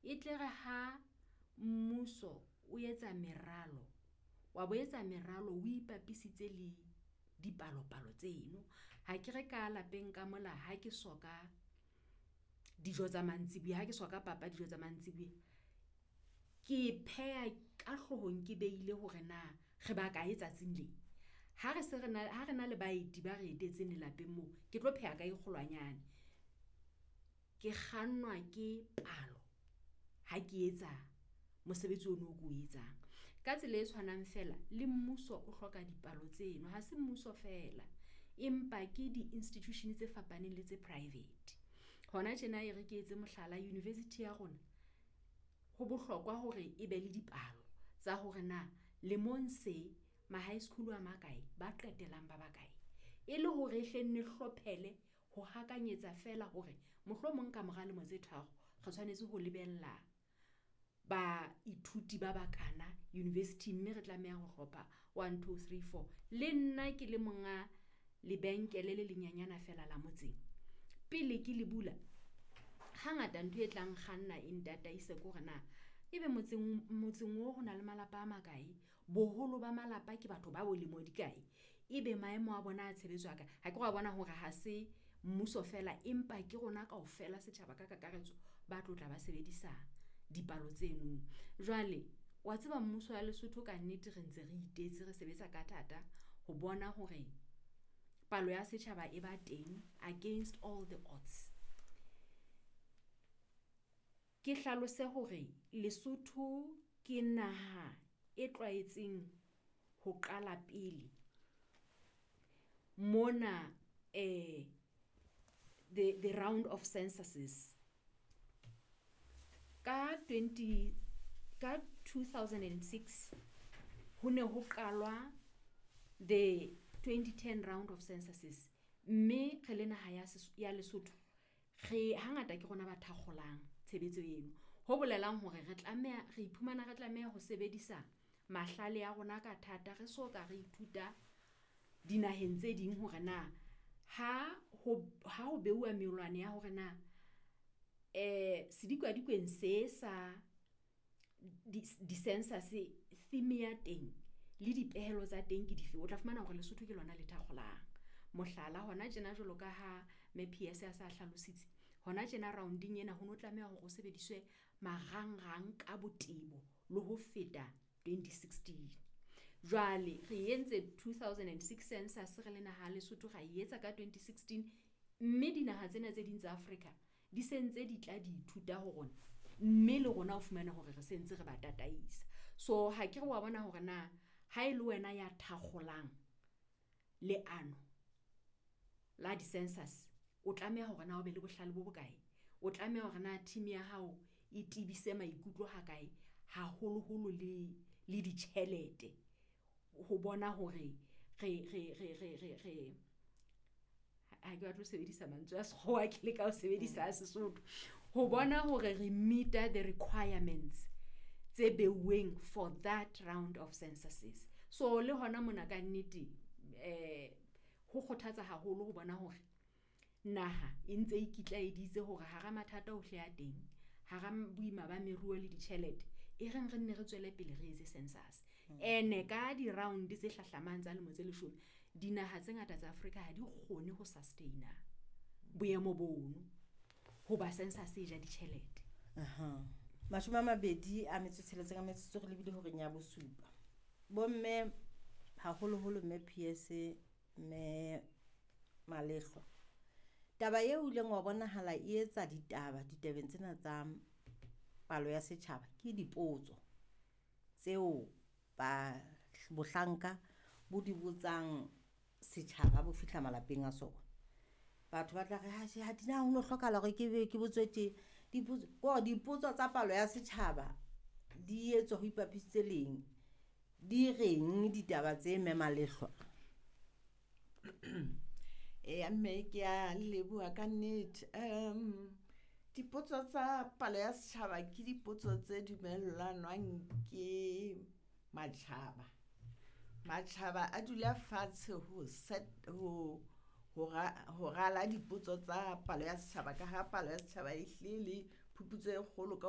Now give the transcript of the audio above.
E tle re ha mmuso o etsa meralo, wa bo etsa meralo o ipapisitse le dipalopalo tseno. Ha ke re ka lapeng ka mola ha ke soka dijo tsa mantsibuya, ha ke soka papa dijo tsa mantsibuya, ke pheha ka hloohong ke behile hore na re ba kae tsatsing le. Ha re se re na, ha re na le baeti ba re etetseng lelapeng moo, ke tlo pheha ka e kgolwanyane. Ke kgannwa ke palo ha ke etsa mosebetsi ono o ko o etsang. Ka tsela e tshwanang feela le mmuso o hloka dipalo tseno, ha se mmuso feela empa ke di-institution tse fapaneng le tse private. Hona tjena e re ke etse mohlala, university ya rona ho bohlokwa hore e be le dipalo tsa hore na lemong se ma-high school a makae, ba qetellang ba bakae. E le hore e hle nne hlophele ho hakanyetsa feela hore mohlomong ka mora lemo tse tharo re tshwanetse ho lebella baithuti ba bakana university-ing mme re tlameha ho hlopha 1, 2, 3, 4. Le nna ke le monga lebenkele le lenyanyana feela la motseng, pele ke le bula, hangata ntho e tlang kganna e ntataise ke hore na ebe motseng oo ho na le malapa a makae, boholo ba malapa ke batho ba bolemo di kae, ebe maemo a bona a tshebetso a kae. Akere wa bona hore ha se mmuso feela empa ke rona kaofela setjhaba ka kakaretso ba tlo tla ba sebedisa dipalo tseno. Jwale wa tseba mmuso wa Lesotho ka nnete re ntse re itetse re sebetsa ka thata ho bona hore palo ya setjhaba e ba teng against all the odds. Ke hlalose hore Lesotho ke naha e tlwaetseng ho qala pele mona the round of censuses. Ka 2006 ho ne ho qalwa the 2010 round of censuses, mme re le naha ya Lesotho re hangata ke rona ba thakgolang tshebetso eno. Ho bolelang hore re tlameha, re iphumana re tlameha ho sebedisa mahlale a rona ka thata, re so ka re ithuta dinaheng tse ding hore na ha ho beuwa melwane ya hore na sedikadikweng se sa di-census theme ya teng le dipehelo tsa teng ke dife, o tla fumana hore Lesotho ke lona le thakgolang. Mohlala hona tjena jwalo ka ha Mme PS a sa hlalositse, hona tjena round-eng ena ho no tlameha hore ho sebediswe marangrang ka botebo le ho feta 2016. Jwale re entse 2006 census re le naha ya Lesotho, ra e etsa ka 2016, mme dinaha tsena tse ding tsa Afrika di se ntse di tla di ithuta ho rona, mme le rona o fumane hore re sentse re ba tataisa. So ha ke re wa bona hore na ha e le wena ya thakgolang leano la di-census, o tlameha hore na o be le bohlale bo bokae, o tlameha hore na team ya hao e tebise maikutlo ha kae, haholoholo le ditjhelete ho bona hore re ha ke batle ho sebedisa mantswe a sekgowa, ke leka ho sebedisa a Sesotho, ho bona hore re meet-a the requirements tse beuweng for that round of censuses. So le hona mona ka nnete ho kgothatsa haholo ho bona hore naha e ntse e ikitlaeditse hore hara mathata ohle a teng, hara boima ba meruo le ditjhelete, e reng re nne re tswele pele re etse census. Ene ka di-round tse hlahlamang tsa lemo tse 10, dinaha tse ngata tsa Afrika ha di kgone ho sustain-a boemo bono hoba census e ja ditjhelete. Aha. 26 ka metsotso re lebile horeng ya bosupa. Bomme haholoholo mme PS mme Malehlwa. Taba eo o ileng wa bonahala e etsa ditaba ditabeng tsena tsa palo ya setjhaba ke dipotso tseo ba bohlanka bo di botsang setjhaba bo fihla malapeng a sona. Batho ba tla re ha ha di na ho no hlokahala hore ke be ke botswe tje. Dipotso ko dipotso tsa palo ya setjhaba di etswa ho ipapisitse leng, di reng ditaba tse mme Malehlwa? Eya mme ke a leboha ka nnete. Dipotso tsa palo ya setjhaba ke dipotso tse dumellanwang ke matjhaba. Matjhaba a dula fatshe ho set ho ho rala dipotso tsa palo ya setjhaba, ka ha palo ya setjhaba e hlile le phuputso e kgolo ka